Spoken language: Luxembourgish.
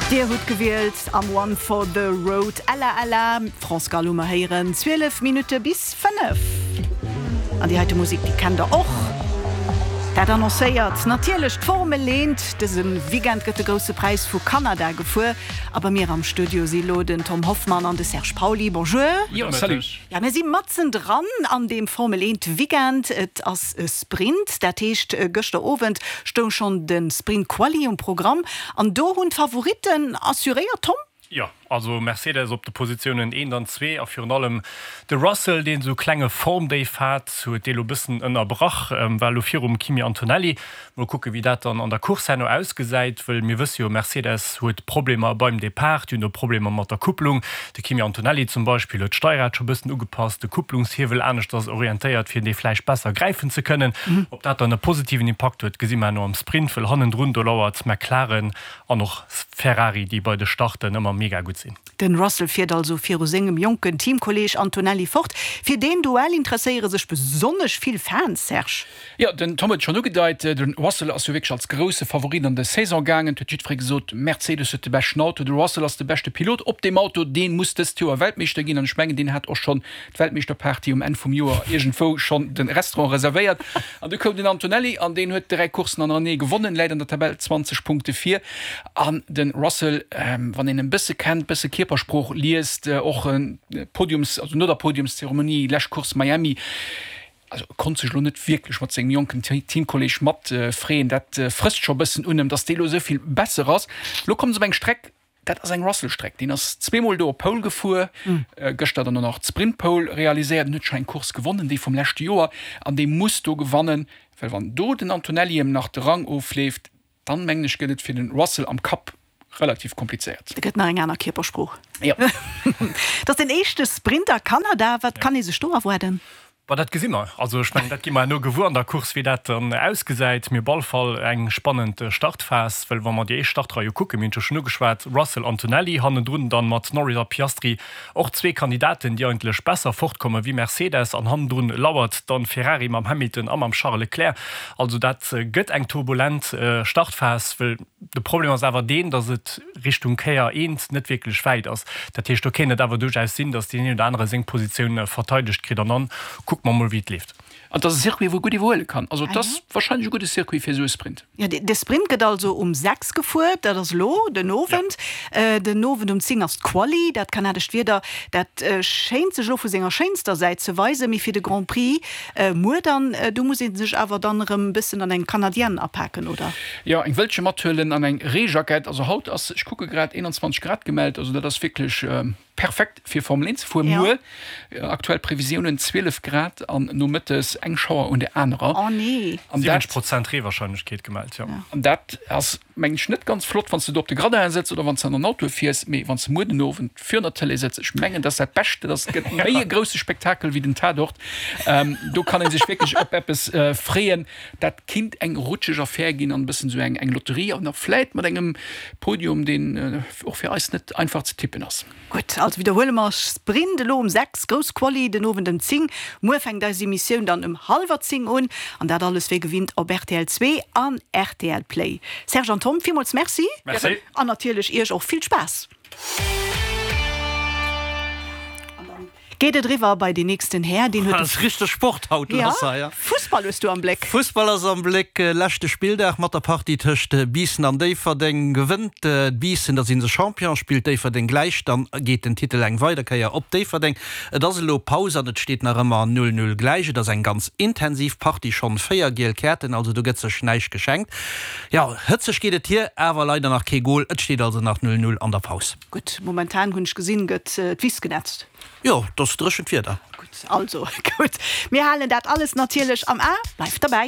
Dir hutt gewielt am One for the Road Ella Ella, France Gall hu mer héieren, 12 Minutte bis 5. An déi heite Musek, déi kennt der och. Dat annoncéiert natierlech d'Formel 1. Dëse Weekend gëtt de Grousse Präis vu Kanada gefuer. A bei mir am Studio si lo den Tom Hoffmann an de Serge Pauly. Bonjour. Jo, salut. Ja, mir si matzen dran an deem Formel 1 Weekend. Et ass e Sprint, dat heescht gëschter Owend stoung schonn de Sprint Quali um Programm an do hunn d'Favoritten assuréiert, Tom? Jo, also Mercedes op de Positiounen eent an zwee a virun allem de Russell, deen esou klenge Formdéif hat, huet dee lo bëssen ënnerbrach, war elo virum Kimi Antonelli. Mol kucke wéi dat dann an der Course herno ausgesäit, wëll mir wësse jo, Mercedes huet Problemer beim Depart, déi hunn do Problemer mat der Kupplung. De Kimi Antonelli zum Beispill huet d'Steierrad scho bëssen ugepasst, de Kupplungshiewel aneschters orientéiert, fir dee vläicht besser gräifen ze kënnen. Ob dat dann e positiven Impakt huet, gesi mer herno am Sprint, wëll hannendrun do lauert McLaren an och Ferrari, déi bei de Starten ëmmer mega gutt sinn. Den Russell fiert also viru sengem jonken Teamkolleeg Antonelli fort. Fir deen Duell interesséiere sech besonnesch vill Fans, Serge. Jo, den Tom huet et schonn ugedeit, de Russell ass jo wierklech als grousse Favorit an de Saison gaangen. Et huet jiddweree gesot, Mercedes huet de beschten Auto, de Russell ass de beschte Pilot op deem Auto, dee muss dëst Joer Weltmeeschter ginn. An ech mengen, deen hat och schonn d'Weltmeeschterparty um Enn vum Joer iergendwou schonn de Restaurant reservéiert. An du koum den Antonelli an deen huet 3 Courssen hannerenee gewonnen, läit an der Tabell 20 Punkte vir. An de Russell, wann een en bësse kennt, bësse Kierpersprooch liest, och Podiums, also no der Podiumszeremonie, lescht Course Miami, also e konnt sech elo net wierklech mat sengem jonken Teamkolleeg mat freeën. Dat frësst scho bëssen un em, datt dee lo esou vill besser ass. Lo kommen se op eng Streck, dat ass eng Russell-Streck. Deen ass zweemol do op Pole gefuer, gëschter dann och nach d'Sprint-Pole realiséiert en huet scho eng Course gewonnen, déi vum leschte Joer, an dee muss do gewannen, well wann do den Antonelli em nach de Rang ofleeft, Dann mengen ech gëtt et fir den Russell am Kapp relativ komplizéiert. Et gëtt nach eng aner Kierpersprooch. Jo. Et ass den éischte Sprint a Kanada. Wat kann ee sech do erwaarden? Bon, dat gesi mer. Also ech mengen, dat gi mer herno gewuer an der Course, wéi dat dann ausgesäit. Mee op all Fall eng spannend Startphas, well wa mer déi éischt Startrei jo kucken, mir hunn et jo schonn ugeschwat, Russell, Antonelli, hannendrun dann mat Norris a Piastri Och zwee Kandidaten, déi eigentlech besser fortkomme wéi Mercedes an hannendrun lauert dann Ferrari mam Hamilton a mam Charles Leclerc. Also dat gëtt eng turbulent Startphas, well de Problem ass awer deen, datt et Richtung Kéier eent net wierklech wäit ass. Dat heescht, do kéint et awer duerchaus sinn, datt deen een oder anere seng Positioun verteidegt kritt an dann kucke mer mol wéi et leeft. An et ass e Circuit, wou ee gutt iwwerhuele kann. Also et ass warscheinlech e gudde Circuit fir esou e Sprint. Jo, de Sprint gëtt also um 6 gefuer, dat ass elo den Owend. Den Owend um 10 ass d'Quali. Dat kanadescht Wieder, dat schéint sech elo vu senger schéinster Säit ze weisen. Mee fir de Grand Prix muer dann, do muss ee sech awer dann erëm e bëssen an eng Canadienne apaken, oder? Jo, eng Wëllche mathuelen an eng Reejackett. Also haut ass, ech kucke grad, 21 Grad gemellt. Also dat ass wierklech. Perfekt fir Formel 1 ze fueren. Muer aktuell Previsiounen 12 Grad an nomëttes eng Schauer un der anerer. Oh nee. 70 Prozent Reewarscheinlechkeet gemellt, jo. An dat ass mengen ech net ganz flott wann s de do op de Gradin sëtz oder wann s de an den Auto fiers, mee wann s de muer den Owend virun der Tëlee sëtz, ech mengen dat ass dat Bescht, dat ass gëtt méi e grousse Spektakel wéi den Tatort. Do kann ee sech wierklech op eppes freeën. Dat kinnt eng rutscheg Affär ginn an e bëssen esou eng Lotterie an och vläit mat engem Podium deen och fir eis net einfach ze tippen ass. Gutt, also widderhuele mer, Sprint elo um 6, grouss Quali den Owend ëm 10. Muer fänkt eis Emissioun dann ëm hallwer 10 un an dat alles wéi gewinnt op rtl 2 an rtl Play. Serge an Tom, villmools Merci. Merci. An natierlech iech och vill Spaass. Geet et eriwwer bei deen nächsten Här, deen huet de. Ass richteg Sport haut lass hei, ja. Fussball hues du am Bléck. Fussball ass am Bléck. Leschte Spilldag mat der Partie tëscht Biissen an Déifferdeng. Gewënnt Biissen, da si se Champion. Spillt Déifferdeng gläich, dann geet den Titel eng weider Kéier op Déifferdeng. Et ass elo Paus an et steet nach ëmmer 0, 0 gläich. Et ass eng ganz intensiv Partie, schonn 4 giel Käerten, also do gëtt sech näischt geschenkt. Jo, hëtzeg geet et hier, awer leider nach kee Gol. Et steet also nach 0, 0 an der Paus. Gutt, momentan hunn ech gesinn, gëtt d'Wiss genetzt. Jo, et ass dréchent Wieder. Gutt, also gutt, mir halen dat alles natierlech am A. Bleift derbäi!